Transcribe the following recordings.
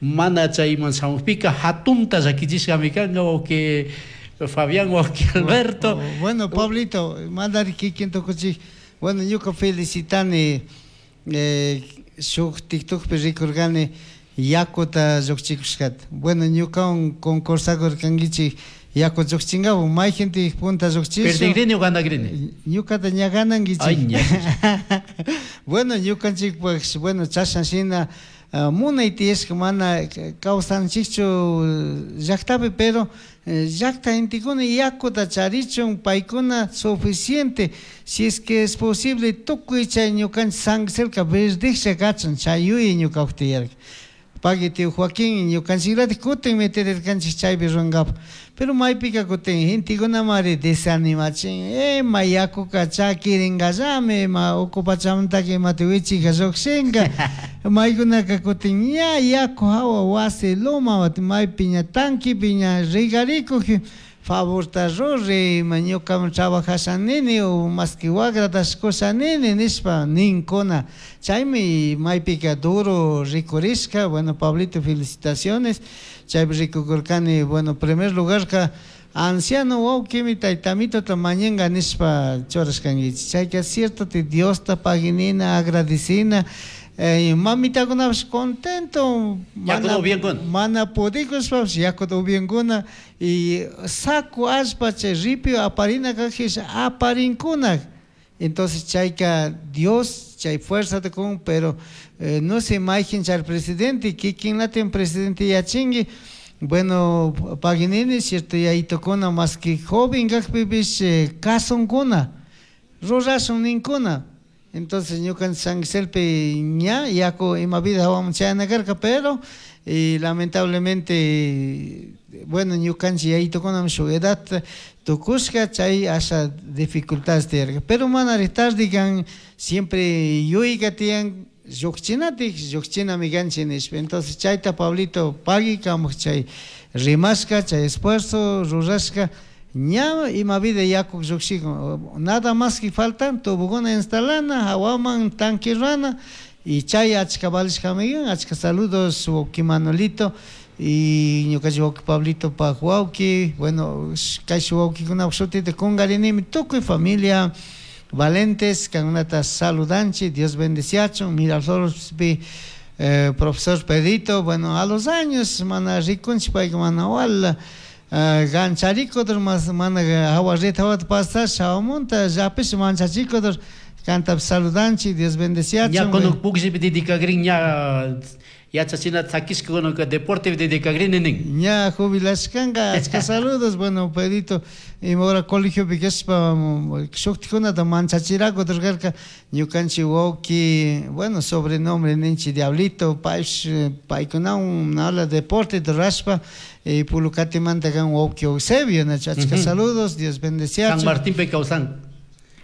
Mana chayman shamukpika hatunta llakichishkami kanka, wawki Fabián, wawki Alberto. Bueno, Pablito, mandari kikin tukuchik. Bueno, ñuka felicitani, shuk TikTokpi rikurkani yakuta llukchikushkata. Bueno, ñukawan concursakurkankichik yaku llukchinkapak, mayjintik punta llukchishun. Perdigrini o ganagrini? Ñukata ña ganankichik. Ay, ña. Bueno, ñukanchikpak, bueno, chashna shina munay tiyashka mana kawsanchikchu llaktapi, pero llakta gentekuna yakuta charichun paykuna suficiente, si es que es posible tukuy chay ñukanchik San Gisela verdijlla kachun, chay yuyay ñukapuk tiyarka. Pagui tío Joaquín, ñukanchiklatik kutin meterirkanchik chaypi rurankapak, pero maypika kutin gentekunamari desanimachin, ma yakuka chakiringallami, ma uku pachamantaka imata wichika llukshinka, maykunaka kutin ña yaku hawa wasi loma maypi ña tanquipi ña regarikuj, favorta ruri, ima ñukaman trabajasha nini o más que wagratash kusha nini nishpa ninkuna. Chaymi maypika duro rikurishka. Bueno, Pablito, felicitaciones. Chaypi rikukurkani, bueno, primer lugarka anciano wawkimi taytamitota mañanka nishpa churashkankichik. Chayka cierto te Diosta paginina, agradecina. Mamitakunapish contento, Yakuta upiankuna. mana pudikushpapish yakuta upiankuna y saco allpa chay ripio aparina kajpish aparinkuna. Entonces chayka Dios chay fuerzata kun, pero no sé mayjin chay presidente, kikinlatin presidente yachinki. Bueno, paginini, cierto, yayitukuna más que joven kajpipish kasunkuna, rurashun ninkuna. Entonces ñukanchik San Giselpi ña yaku ima vida hawaman chayana karka, pero y lamentablemente, bueno, ñukanchik yayitukunami shuk edad tukushka, chay asha dificultades tiyarka, pero manari tarde kan, siempre yuyka tiyan llukchinatik, llukchinami kanchik nishpa. Entonces chayta Pablito pagui kamak chay rimashka, chay esfuerzo rurashka, ña ima vida yaku llukshikun, nada más que faltan tubokuna instalana, hawaman tanque rana, y chay achka valishkami kan. Achka saludos wawki Manolito y ñukanchik wawki Pablito pak wawki, bueno, kayshi wawkikunapak shutita kungarinimi, tukuy familia Valentes kankunata saludanchik, Dios bendeciachun. Miraflorespi profesor Pedrito, bueno, a los años mana rikunchik payka mana wala gancharikudur mas mana hawa red hawata pasash hawamunta llapish manchachikudur, kantapish saludanchik, Dios bendeciachun. Ña kunuk pukllpi dedicagrin ña yachachinata sakishka kunaka deportepi dedicagrini nin. Ña jubilashkanka, achka saludos. Bueno, Pedrito, ima hora colegiopi kashpa shuktikunata manchachirakudur karka, ñukanchik wawki, bueno, sobrenombre ninchik Diablito, paypish paykunawan habla deporte rurashpa, Pulucatimanta kan wawki Eusebio, nachu, achka saludos, Dios bendeciachun. San Martinpi kawsan.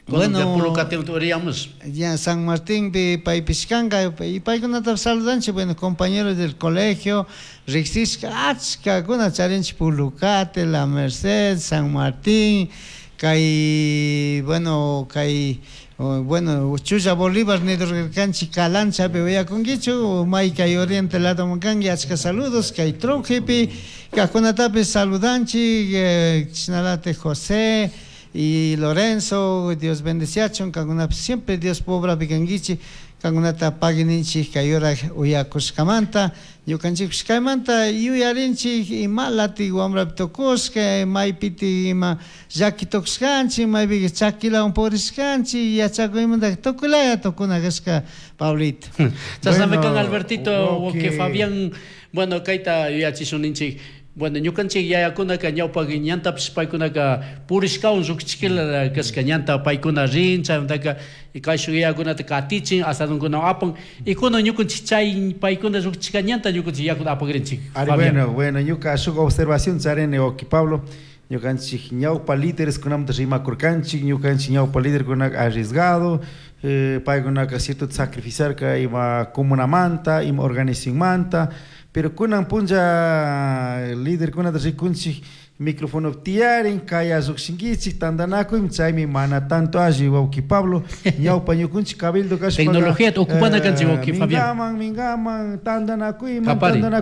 Bueno, Pulucatimanta uriyamos. Ya San Martinpi paypish kanka, y paykunata saludanchik, bueno, compañeros del colegio, riksishka achkakuna charinchik Pulucate, La Merced, San Martín, kay, bueno, kay, bueno, Chulla Bolívar nidurkanchik Calanchapi uyakunkichu, may kay oriente ladoman kanki, achka saludos, kay Trujipi, kajkunatapis saludanchik, chishnalate José y Lorenzo, Dios bendeciachun, kankunapish siempre Dios pobrapi kankichik, kankunata pagininchik kay hora uyakushkamanta, ñukanchikpish kaymanta yuyarinchik ima lati wambrapi tukushka, maypiti ima llaki tukushkanchik, maypika chakilawan purishkanchik, yachakuymanta tukuylaya tukuna kashka, Pablito. Chashnami kan Bueno, Albertito, wawki. wawki Fabián, bueno, kayta yuyachishun ninchik. Bueno, ñukanchik yayakunaka ñawpak ñantapish paykunaka purishkawan llukchikila kashka ñanta paykuna rin, chaymantaka kayshuk yayakunata katichin, asadunkuna apan, y kunan ñukanchik chay paykuna llukchishka ñanta ñukanchik yakuta apakrinchik. Ari, Fabián. bueno, bueno, ñuka shuk observación charini, wawki Pablo, ñukanchik ñawpa líderes kunamanta rimakurkanchik, ñukanchik ñawpa líderkunaka arriesgado, paykunaka cierto sacrificarka ima comunamanta, ima organizacionmanta, pero kunan punlla líderkunata rikunchik micrófono tiyarin, kaya llukshinkichik, tantanakuy, chaymi mana tanto alli, wawki Pablo, ñawpa ñukunchik cabildo kashpaka, Tecnología ocupana kanchik, wawki Fabián. mingaman, mingaman, tantanakuyman, Kapari. tantanakuy.